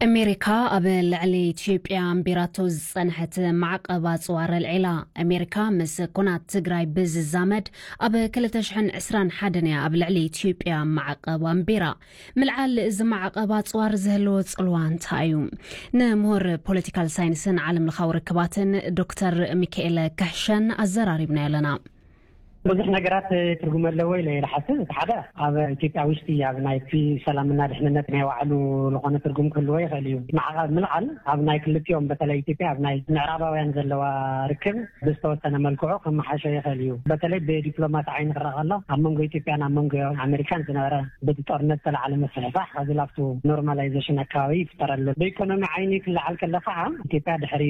ኣሜሪካ ኣብ ልዕሊ ኢትዮጵያ ኣንቢራቶ ዝጸንሐት ማዕቐብ ኣጽዋር ኣልዒላ። ኣሜሪካ ምስ ኩናት ትግራይ ብዝዛመድ ኣብ ክልተ ሽሕን ዕስራን ሓደን እያ ኣብ ልዕሊ ኢትዮጵያ ማዕቐብ ኣንቢራ። ምልዓል እዚ ማዕቐብ ኣጽዋር ዝህልዎ ጽልዋ እንታይ እዩ? ንምሁር ፖለቲካል ሳይንስን ዓለም ለኻዊ ርክባትን ዶክተር ሚካኤለ ክሕሸን ኣዘራሪብና ኣለና። ብዙሕ ነገራት ትርጉም ኣለዎ ኢለ እየ ዝሓስብ። እቲ ሓደ፣ ኣብ ኢትዮጵያ ውሽጢ ኣብ ናይ ሰላምና ድሕንነት ናይ ባዕሉ ዝኾነ ትርጉም ክህልዎ ይኽእል እዩ። ማዕቐብ ምልዓል ኣብ ናይ ክልቲኦም፣ በተለይ ኢትዮጵያ ኣብ ናይ ምዕራባውያን ዘለዋ ርክብ ብዝተወሰነ መልክዑ ከመሓሾ ይኽእል እዩ። በተለይ ብዲፕሎማሲ ዓይኒ ክረኣ ከሎ፣ ኣብ መንጎ ኢትዮጵያን ኣብ መንጎ ኣሜሪካን ዝነበረ በቲ ጦርነት ዝተላዓለ ምስሕፋሕ፣ ከዚ ላብቱ ኖርማላይዜሽን ኣካባቢ ይፍጠረሉ። ብኢኮኖሚ ዓይኒ ክለዓል ከሎ ከዓ፣ ኢትዮጵያ ድሕሪ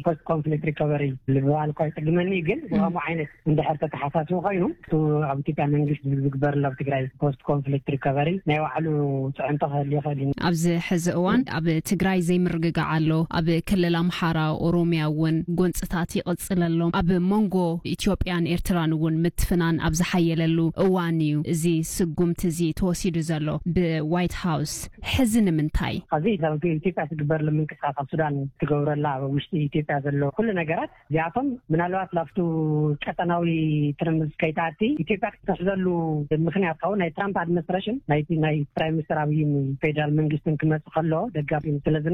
ፖስት ኮንፍሊክት ሪኮቨሪ ዝበሃል እኳ ይፅግመኒ፣ ግን ብኸምኡ ዓይነት እንድሕር ተተሓሳስቡ ኮይኑ፣ እቲ ኣብ ኢትዮጵያ መንግስቲ ዝግበር ኣሎ ኣብ ትግራይ ፖስት ኮንፍሊክት ሪኮቨሪ ናይ ባዕሉ ፅዕንቶ ክህል ይኽእል እዩ። ኣብዚ ሕዚ እዋን ኣብ ትግራይ ዘይምርግጋዕ ኣሎ። ኣብ ክልል ኣምሓራ፣ ኦሮሚያ እውን ጎንፅታት ይቕፅል ኣሎ። ኣብ መንጎ ኢትዮጵያን ኤርትራን እውን ምትፍናን ኣብ ዝሓየለሉ እዋን እዩ እዚ ስጉምቲ እዚ ተወሲዱ ዘሎ ብዋይት ሃውስ። ሕዚ ንምንታይ? ኣብዚ ኣብ ኢትዮጵያ ትግበር ምንቅስቃስ፣ ኣብ ሱዳን ትገብረላ፣ ኣብ ውሽጢ ኢትዮጵያ ዘሎ ኩሉ ነገራት እዚኣቶም ምናልባት ላብቱ ቀጠናዊ ትርምስ ከይትኣቲ ኢትዮጵያ ክትሕዘሉ ምክንያት ካብኡ ናይ ትራምፕ ኣድሚኒስትሬሽን፣ ናይቲ ናይ ፕራይም ሚኒስትር ኣብይን ፌደራል መንግስትን ክመጽእ ከሎ ደጋፊ ስለ ዝነበረ፣